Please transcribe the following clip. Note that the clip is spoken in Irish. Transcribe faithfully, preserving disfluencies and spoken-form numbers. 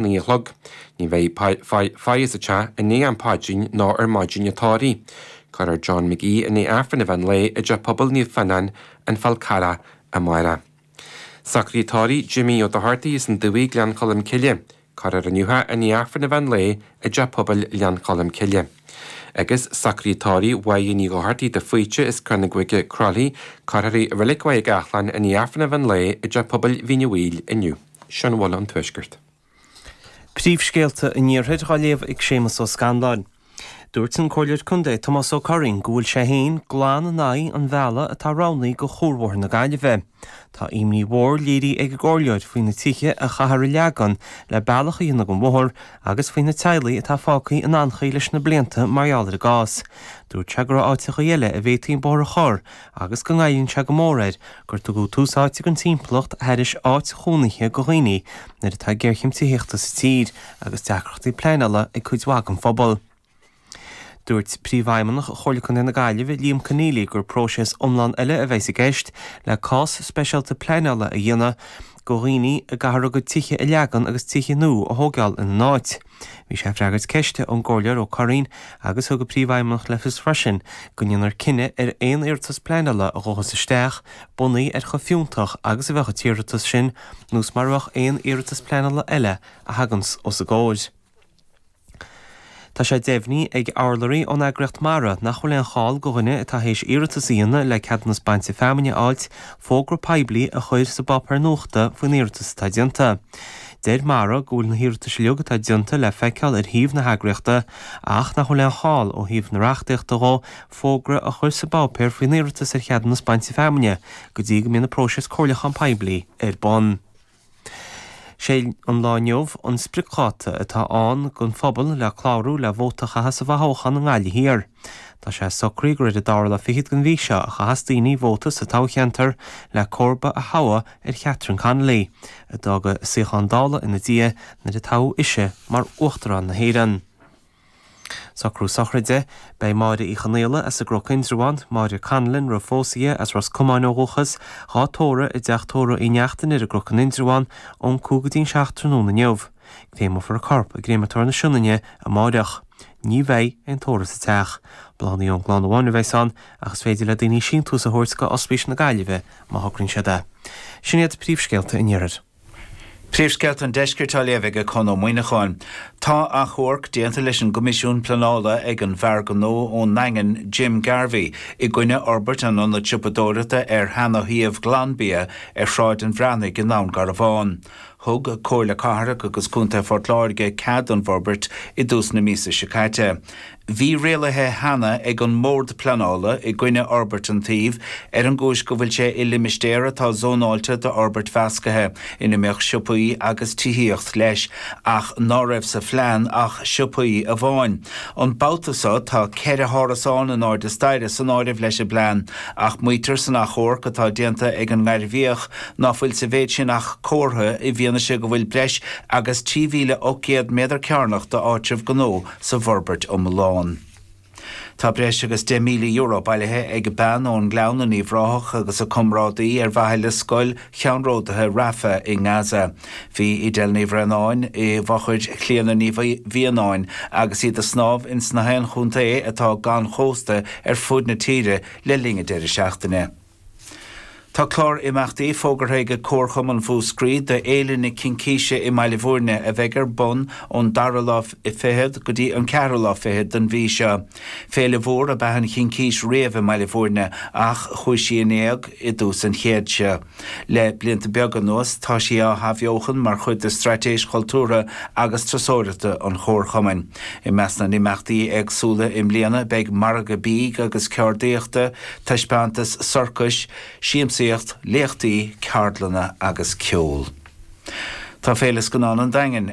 naoi a chlog. Ní bheidh faire sa teach i ndiaidh am paidrín ná ar maidin an tórraimh. Cuirfear John McGee i ndiaidh Aifreann an mheán lae i dteach pobail Naomh Fionnán, An Fál Carrach amárach. Socruithe tórraimh Jimmy Ó Dochartaigh as an Dumhaigh Gleann Cholm Cille. Cuirfear inniu é i ndiaidh Aifreann an mheán lae i dteach pobail Ghleann Cholm Cille. Agus socruithe tórraimh Mháire Ní Dhochartaigh de Faoite as Cor na gCuige Croithlí, cuirfear í i Reilig Mhaigh gCathláin i ndiaidh Aifreann an mheán lae i dteach pobail Mhín an Mhaoil inniu. Sin a bhfuil ón Tuaisceart. Príomhscéalta an Iarthair á léamh ag Séamus Ó Scanláin. Dúirt an Comhairleoir Contae Tomás Ó Curraoin go bhfuil sé féin glan in aghaidh an bhealaigh atá roghnaithe do chuarbhóthar na Gaillimhe. Tá imní mhór léirithe ag an gcomhairleoir faoi na tithe a chaithfear a leagan le bealach a dhéanamh don bhóthar agus faoi na teaghlaigh atá fágtha in anchaoi leis na blianta mar gheall ar an gcás. Dúirt sé go raibh áiteacha eile a bhféadfaí an bóthar a chur agus go ngoilleann sé go mór air gur tugadh tús áite don timpeallacht thairis áit chónaithe do dhaoine nuair atá géarchéim tithíochta sa tír agus deacrachtaí pleanála ag cuid mhaith den phobal. Dúirt Príomhfheidhmeannach Chomhairle Contae na Gaillimhe Liam Conneely gur próiseas iomlán eile a bheas i gceist le cás speisialta pleanála a dhéanamh do dhaoine a gcaithfear a gcuid tithe a leagan agus tithe nua a thógáil ina n-áit. Bhí sé ag freagairt ceiste ón gcomhairleoir Ó Curraoin agus thug an Príomhfheidhmeannach le fios freisin go ndéanfar cinneadh ar aon iarratas pleanála a ghabhfas isteach bunaithe ar chomh fiúntach agus a bheadh an t-iarratas sin nós mar a bheadh aon iarratas pleanála eile a thaganns os a gcomhair. Tá sé deimhnithe ag urlabhraí ón eagraíocht Mara nach bhfuil aon chall do dhuine atá théis iarratas a dhéanamh le ceadúnas bainte feamainne a fháilt fógra poiblí a chur sa bpáipéar nuachta faoin iarratas atá déanta. Deir Mara go bhfuil na hiarratais uilig atá déanta le feiceáil ar shuíomh na heagraíochta ach nach bhfuil aon chall ó thaobh na reachtaíochta dhó fógra a chur sa bpáipéar faoin iarratas ar cheadúnas bainte feamainne go dtí go mbíonn an próiseas comhairliúchán poiblí ar bun. Sé an lá inniu an spriocdháta atá ann don phobal le clárú le vóta a chaitheamh sa bhfothoghchán i nGaillimh Thiar. Tá sé socraithe gur ar an dara lá fichead den mhí seo a chaithfeas daoine vóta sa toghcheantar le comharba a thoghadh ar Catherine Connolly, a d'fhág a suíochán Dála ina diaidh nuair a toghadh ise mar Uachtarán na hÉireann. Socrú sochraide, beidh Máire Uí Chonaola as an gCnoc Indreabhán, Máire Conlon roimh phósadh as Ros Comáin ó dhúchas, dhá tórramh i dteach tórraimh Uí Neachtain ar an gCnoc in Indreabhán ón cúig go dtí an seacht tráthnóna inniu. Créamófar a corp i gcréamatóir na Sionainne amáireach. Ní bheidh aon tórramh sa teach. Bláthanna ón gclann amháin a bheas ann ach is féidir le daoine síntiús a thabhairt go Ospís na Gaillimhe má shocraíonn siad é. Sin iad príomhscéalta an Iarthair. Príomhscéalta an Deiscirt á léamh ag Conn Ó Muíneacháin. Tá achomharc déanta leis an gCoimisiún Pleanála ag an bhfear gnó ón nDaingean, Jim Garvey, i gcoinne fhorbairt an ionaid siopadóireachta ar sheana-shuíomh Ghlanbia ar Shráid an Bhreathnaigh i nDún Garbhán. Thug Comhairle Cathrach agus Contae Phort Láirge cead don bhforbairt i dtús na míosa seo caite. Bhí rialuithe cheana ag an mBord Pleanála i gcoinne fhorbairt an tsuímh ar an gcúis go bhfuil sé i limistéar atá zónáilte d'fhorbairt mheascaithe ina mbeadh siopaí agus tithíocht leis, ach ná raibh sa phlean ach siopaí amháin. An babhta seo tá ceithre hárasán in airde staighre san áireamh leis an bplean, ach maítear san achomharc atá déanta ag an nGairbhíoch ná fuil sa mhéid sin ach comhartha i bhfianaise go bhfuil breis agus trí mhíle ocht gcéad méadar cearnach d'áitreabh gnó sa bhforbairt iomlán. Tá breis agus deich míle euro bailithe ag bean ón nGleann in Uíbh Ráthach agus a comrádaí ar mhaithe le scoil cheannródaithe Rafah i nGaza. Bhí Edel Ní Bhraonáin i bhfochair Chlíona Ní Mhianáin agus iad ag snámh ins na haon chontae atá gan chósta ar fud na tíre le linn an deireadh seachtaine. Tá clár imeachtaí fógartha ag Comharchumann Mhúscraí do Fhéile na Cincíse i mBaile Bhúirne a bheidh ar bun ón dara lá fichead go dtí an ceathrú lá fichead den mhí seo. Féile mhór ab ea an Chincís riamh i mBaile Bhúirne ach chuaigh sí in éag i dtús an chéid seo. Le blianta beaga anuas tá sí á hathbheochan mar chuid de straitéis chultúrtha agus turasóireachta an Chomharchumainn. I measc na n-imeachtaí éagsúla i mbliana beidh margadh bídh agus ceardaíochta, taispeántas sorcais, siamsaíocht, léachtaí, ceardlanna agus ceol. Tá Féile Scannán an Daingin